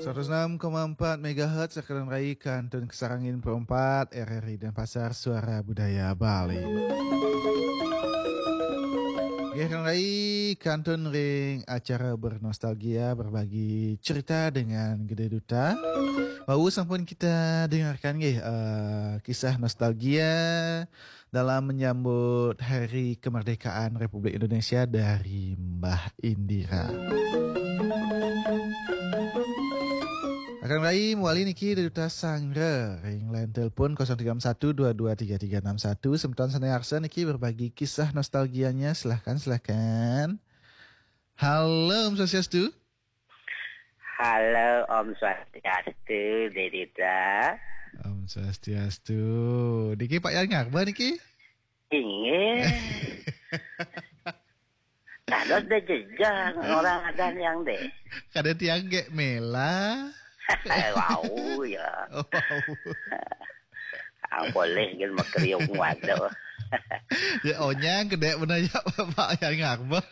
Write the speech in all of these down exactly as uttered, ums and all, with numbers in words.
Seratus enam koma empat megahertz, Kakang Rai, kantun kasarengin perempat, R R I Denpasar, Suara Budaya Bali. Nggih, Kakang Rai, kantun ring acara bernostalgia, berbagi cerita dengan Gede Duta. Wau sampun kita dengarkan nggih, eh, kisah nostalgia dalam menyambut Hari Kemerdekaan Republik Indonesia dari Mbah Indira. Kakang Rai, mawali niki Gede Duta sanggra ring line telepon kosong tiga enam satu dua dua tiga tiga enam satu. Semeton sane arsa niki berbagi kisah nostalgianya. Silahkan, silahkan. Halo, Om Swastiastu. Halo, Om Swastiastu, Gede Duta. Om Swastiastu. Niki Pak Yan Ngarba niki? Inggih. Dados deh jejang orang ada yang deh. Kada tiang gek mela. Wau ya. Oh, wau. Ang boleh kan makriung waduh. Ya onyang kedek bener ya Pak Yan Ngarba.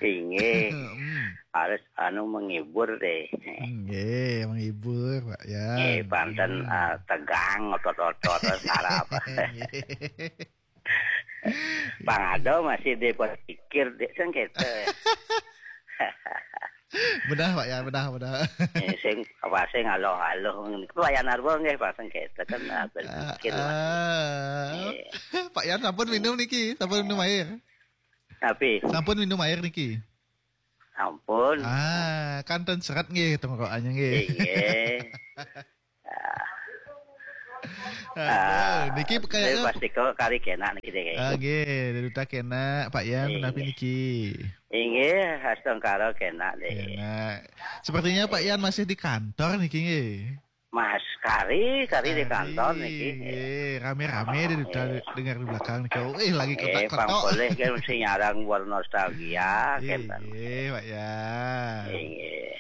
Inggih. Hmm. Harus anu menghibur deh. Nggih, menghibur, Pak Yan. Eh, panten, ah, tegang otot-otot sarap. Nggih. Pang ada masih deh berpikir deh sengketa. Benar, Pak Yan, benar, benar. Eh, sing apa sing aloh-aloh. Pak Yan Ngarba nggih pas sengketa kan, ah, berpikir. Ah, ah. Iya. Pak Yan sampun minum niki, sampun minum air. Tapi sampun minum air niki. Sampun. Ah, kantun seret nggih tenggorokannya nggih. Nggih. Aduh, niki kayaknya pasti kok kari kena niki deh. Ah, nggih, Gede Duta kena, Pak Yan, menawi niki? Inggih, astungkara kena deh. Kena. Sepertinya Pak Yan masih di kantor niki nggih. Mas, kari, kari di kantor niki. Nggih, rame-rame Gede Duta dengar di belakang niki. Oh, eh, lagi kotak-kotak. Pang boleh kan mesti nyarang buat nostalgia, nggih, Pak Yan. Nggih.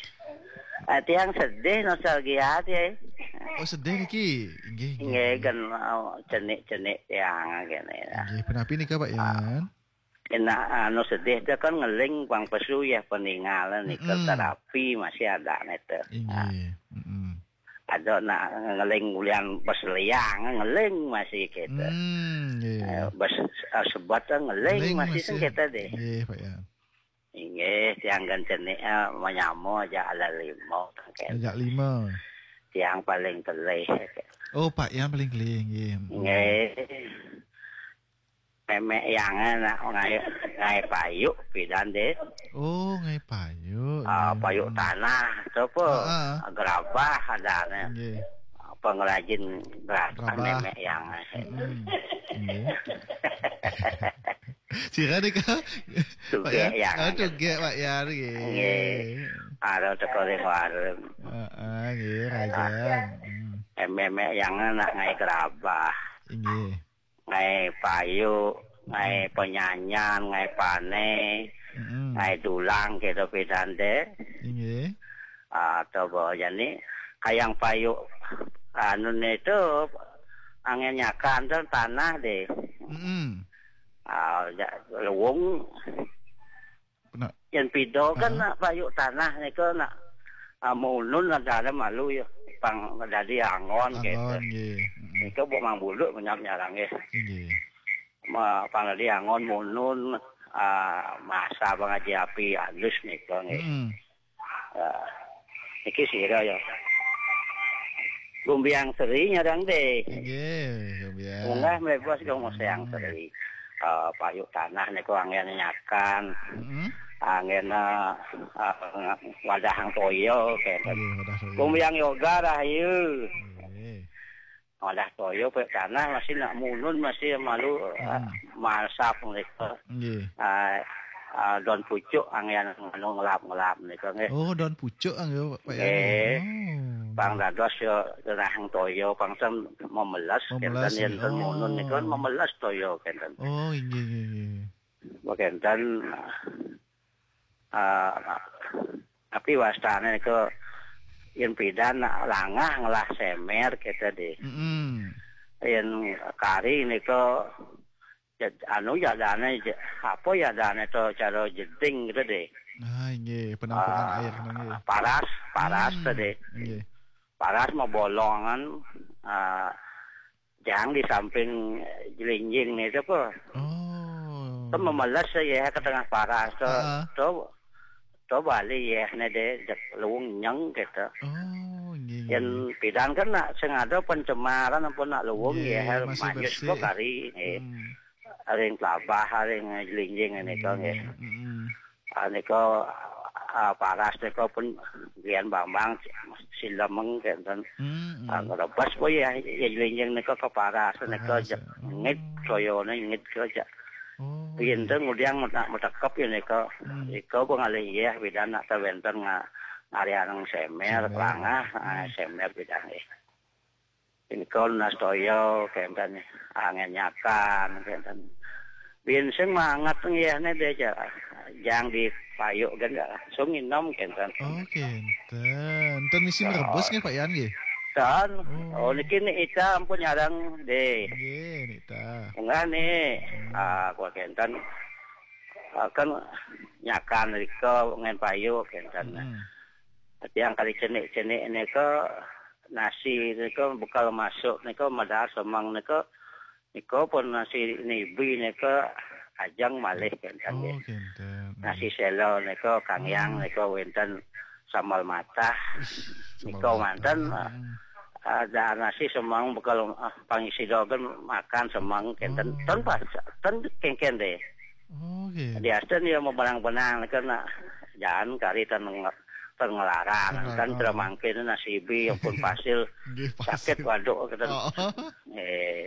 Ah, tiang sedih nostalgia, tiang. Oh, sedih niki. Nggih, nggih. Nggih, kan, oh, cenik-cenik tiang kene. Nggih, punapi nika, Pak Yan? Kena anu sedih dia kan ngeling pang pesu ya peninggalan nika terapi masih ada nete. Inggih. Ada nak ngeling ulian bes liang ngeling masih kita. Hmm, nggih. Eh, bes, eh, sebot ngeling masih sing kita deh. Nggih, Pak Yan. Inggih, tiang kan cenik, eh, menyamo aja ala lima. Ajak lima. Tiang paling telih. Oh, Pak Yan paling telih, nggih. Nggih. Memek yang anak ngai, ngai payuk pidan deh. Oh, ngai payuk. Ah, nggih. Payuk tanah tu apa? Ah, ah. Gerabah ada nih. Nggih. Pengrajin gerabah. Gerabah. Memek yang. Hmm. Nggih. Sira nika? Tugek Pak Yan. Yang. Ah, tugek Pak Yan nggih. Nggih. Ada teko ring warung. Heeh, nggih, rajan. Hmm. Memek yang anak ngai gerabah. Nggih. Ngai payuk, ngai penyanyan, ngai pane, ngai dulang gitu pidan deh. Inggih. Atau bawa jani kayang payuk anu itu angin nyakan tu tanah deh. Mm-mm. Ah, ja-, luwung. Pernah. Yang pido kan nak payuk tanah ni ke nak, ah, munun ada malu ya. Pang dadi anggon gitu. Anggon, nggih. Mm-mm. Itu buat mang bulu menyap nyarang ya. Nggih. Ma, pang dadi anggon munun, ah, masa bang aji api halus ni ke nggih. Mm-mm. Ah, iki sira ya. Gumbiang Seri nyarang deh. Nggih, Gumbiang. Munggah mlebos Gumbiang Seri. Ah, payuk tanah niku anggen nyakan. Mm-mm. Anggen, ah, ah, wadah toya kenten. Nggih, wadah toya. Gumbiang Yoga rahayu. Nggih. Wadah toya payuk tanah masih nak munun masih malu, ah, masap mereka. Nggih. Ah, ah, don pucuk anggen anu ngelap-ngelap mereka nggih. Oh, don pucuk nggih, Pak Yan. Nggih. Oh, pang dados ya rahang toya pang ten memeles kenten. Memeles, yen ten munun niku memeles toya kenten. Oh, inggih, inggih, inggih. Kenten, ah, tapi wastane niku yen pidan langah ngelah semer kita deh. Mm-mm. Yen kari niku jad-, anu jadane je-, apa jadane to cara jeding gitu deh. Ah, inggih, penampungan Ah, air nggih. Paras, paras Hmm, tadi. Inggih. Paras mabolongan, ah, jang di samping, eh, jelinjing ni tu apa. Oh. Tu memeles ya ke tengah paras tu. Ah. Tu, tu balik ya ni deh, dek luung nyeng gitu. Oh, inggih, inggih. Yang pidan kan nak sing ada pencemaran apa nak luung Nggih, ya, masih manyus bersih. Kok kari, eh. Hmm. Ring kelabah, ring jelinjing ni kau nggih. Hmm, hmm. Ah, nika, ah, paras nika pun Grian Bambang silemeng kenten. Hmm, hmm. Ah, ngerebas po ya, ya jelinjing nika ke paras nika. Paras, je-, ya. Oh. Ngit soyone ngit ke ja. Oh, iya. Pinten ngudiang metak-, metekep ya nika. Hmm. Nika pengalih ya, pidan nak tawenten nga-, ngarianeng semer, semer. Kelangah, ah, hmm, semer pidan ya. Ini kon nastoyo kenten, angin nyakan kenten. Bin sing manget nggih ne deh, ja-, jang di payuk kan langsung inom kenten. Oh, kenten. Ten misi merebus nggih, Pak Yan nggih? Ten. Oh. Oh, niki ni ita ampun nyarang deh. Nggih, nita. Enggak ni. Hmm. Ah, kok kenten. Ah, kan nyakan rika ngen payuk kenten. Hmm. Tiang kali cenik-cenik nika nasi nika bekal masuk nika madar semang nika, nika pun nasi nibi nika ajang malih kenten. Oh, nggih. Kenten. Nasi selo nika kangyang. Hmm. Nika wenten sambal matah. Ih, sambal matah. Nika manten, hmm, ada nasi semang bekal, ah, pangisi dogen makan semang kenten. Oh. Ten pas, ten kengken deh. Oh, gitu. Diasten ya mau benang-benang kan nak jalan kari ten nge-, ten ngelaran. Ngelaran. Kan tera mangkin nasi bi yang pun pasil. Nggih, pasil. Sakit waduk kenten. Oh. Eh,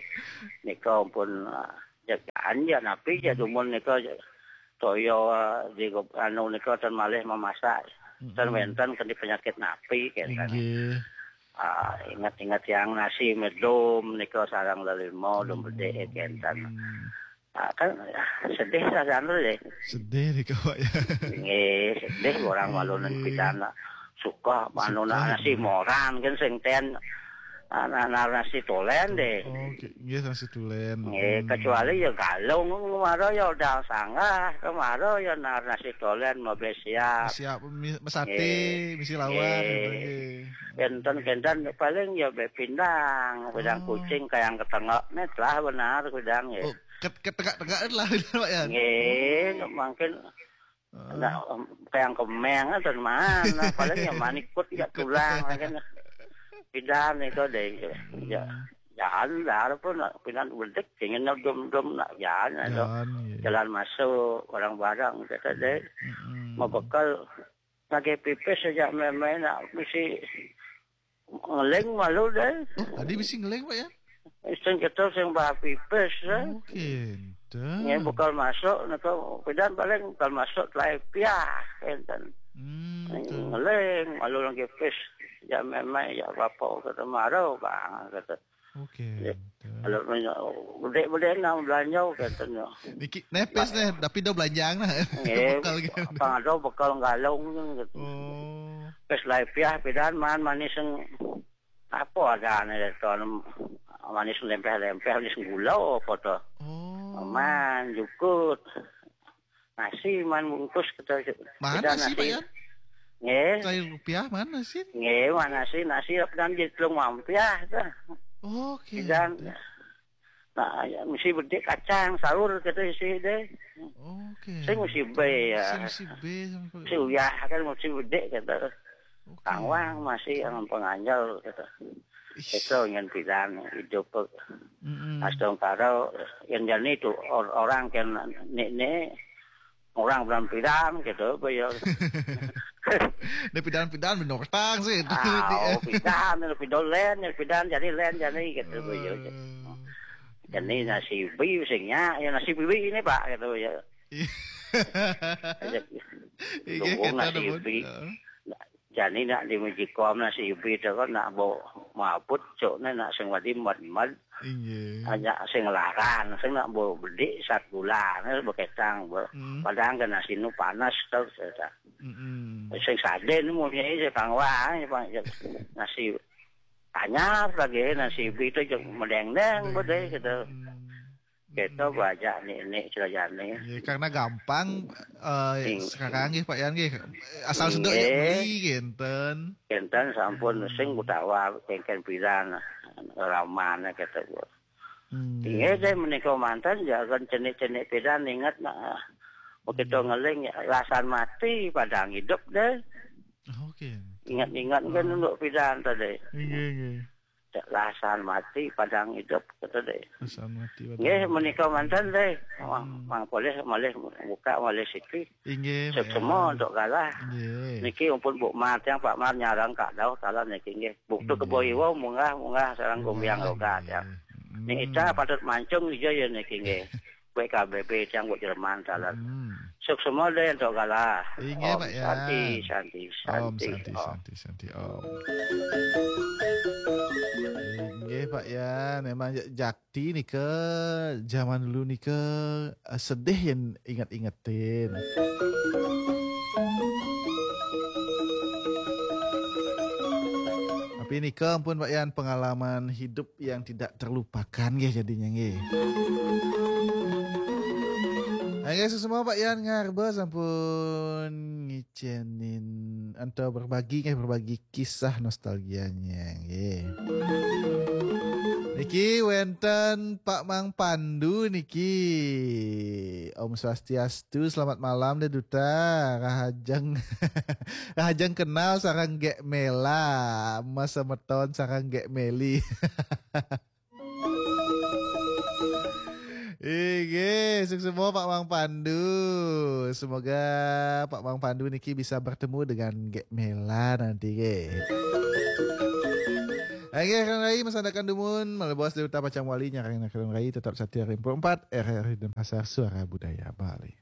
nika pun, ah, jagaan ya napi ya dumun nika toyo, ah, di go-, anu nika ten malih memasak. Ten wenten kena penyakit napi kenten. Nggih. Ah, ingat-ingat yang nasi medum nika sarang lelimo dum bedek kenten. Hmm. Ah, kan, ah, sedih sajan deh. Sedih nika, Pak, ya. Nggih, sedih orang malunan pidan nak suka manunan nasi moran kan sing ten, ah, na-, nar nasi tulen deh. Oh, nggih, nasi tulen. Nggih, hmm, kecuali ya galung, kemaro ya udah sanggah, kemaro ya nar nasi tulen mau beli siap. Siap, mi-, mesate, nggih, misi lawan, nggih, gitu, nggih. Kenten-kenten paling ya be pindang, pindang kucing kayak ketengok, nih telah benar pindang ya. Oh, Ket-, ketegak-tegak lah, Pak, ya? Nggih, mungkin nak, em, kayang kemeng atau mana, paling ya manikut ya ikut tulang, kan. Pidan itu deh, ya. Hmm. Jalan, dah pun nak pidan bedik, ingin dum-dum nak jalan, itu. Jalan, iya. Jalan masuk, orang barang, kata deh. Mm-mm. Mau bekal, lagi pipis saja main-main, nak mesti ngeling malu deh. Oh, tadi mesti ngeling, Pak, ya? Sing kita sing bah pipis, eh. Oke, dah. Nggih, bekal masuk, nika pidan paling bekal masuk telai piah, enten. Hmm, betul. Ngeling, malu lagi pis. Ya memang, ya apa, kata maru, bang, kata. Oke, ya, betul. Kalau punya, bedek-bedek nang belanja, katanya. Niki, nepes nih, tapi dah belanjang lah. Nggih, bekal gitu. Apa ada bekal galung, gitu. Oh. Pis telai piah, pidan, man, manis yang apa ada nih, tuan, manis lempeh-lempeh, manis gula apa tu. Oh. Man, jukut. Nasi, man, bungkus kita. Mana kita nasi, nasi, Pak Yan? Nggih. Telai rupiah mana sih? Nggih, mana sih nasi apa dan jadi telung mampiah tu. Oke. Dan, nah, ya, mesti bedik kacang, sahur kita isi deh. Oke. Saya mesti be ya. Saya mesti be sampai. Si uyah kan mesti bedik kata. Oke. Tangwang masih yang penganjal kata. Ih. Itu yang pidan hidup. Mm-mm. Astungkara yang jadi itu or-, orang kan ni, ni orang bilang pidan gitu, apa ya. Ini pidan-pidan binatang sih. Ah, oh, pidan, pidan len, pidan jadi len jadi gitu, apa ya. Eh. Jadi nasi bi singnya, ya nasi bi ini, Pak, gitu ya. Iya. Aja. Iya, dukung kita nasi dapat, bi. Heeh. Jani nak di Mejikom nasi bi tu kan nak bau mabut, cok ni nak sing wadi mad-mad. Inggih. Hanya sing laran, sing nak bau bedik sat gula, ni beketang, be-, hmm, padahal kan nasi nu panas tu, saya tak. Mm-mm. Sing saden mu ni, saya kang wah, ni, Pak, nasi anyar lagi, nasi bi tu je medeng-deng, deng, bedai, gitu. Hmm. Kita bajak nek-nek celah jane. Ya, karena gampang eh, sekarang nggih Pak Yan nggih. Asal sedok ya beli kenten. Kenten sampun sing utawa kengken pidan ramane kata. Hmm. Inggih deh menika manten jangan cenik-cenik pidan inget nah. Begitu ngeling ya, lasan mati padang hidup deh. Oke. Ingat-ingat kan untuk pidan tadi. Inggih, inggih. Lasan mati padang hidup kata deh. Lasan mati padang. Nggih menika manten deh. Mang, hmm. Mang boleh malih buka malih siki. Inggih. Semua untuk galah. Inggih. Niki ampun Buk Mar tiang Pak Mar nyarang kak dauh talan niki nggih. Buktu kebo iwa munggah munggah sarang gumbiang logat ya. Nek ita patut mancung ijo ya niki nggih. Kuwi K B P tiang buat Jerman talan. Hmm. Suk semua deh untuk galah. Inggih Pak ya. Santi santi santi. Om santi santi santi om. Inggih Pak ya, memang jakti nika zaman dulu nika eh, sedih yang ingat-ingetin. Tapi nika ampun Pak Yan pengalaman hidup yang tidak terlupakan nggih jadinya nggih. Nggih semua Pak Yan ngarba sampun ngicenin atau berbagi nggih berbagi kisah nostalgianya nggih. Niki wenten Pak Mang Pandu niki. Om Swastiastu, selamat malam deh Duta. Rahajeng rahajeng kenal sarang Gek Mela, Mas semeton sarang Gek Meli. Oke, sukses semua Pak Mang Pandu. Semoga Pak Mang Pandu niki bisa bertemu dengan Gek Mela nanti ke. Oke, Kang Rai, Mas Anda Kandumun, Malebos Dewata Pacang Wali, Nyarang Kang Rai, tetap setia Rimpo empat, R R I Denpasar, Suara Budaya Bali.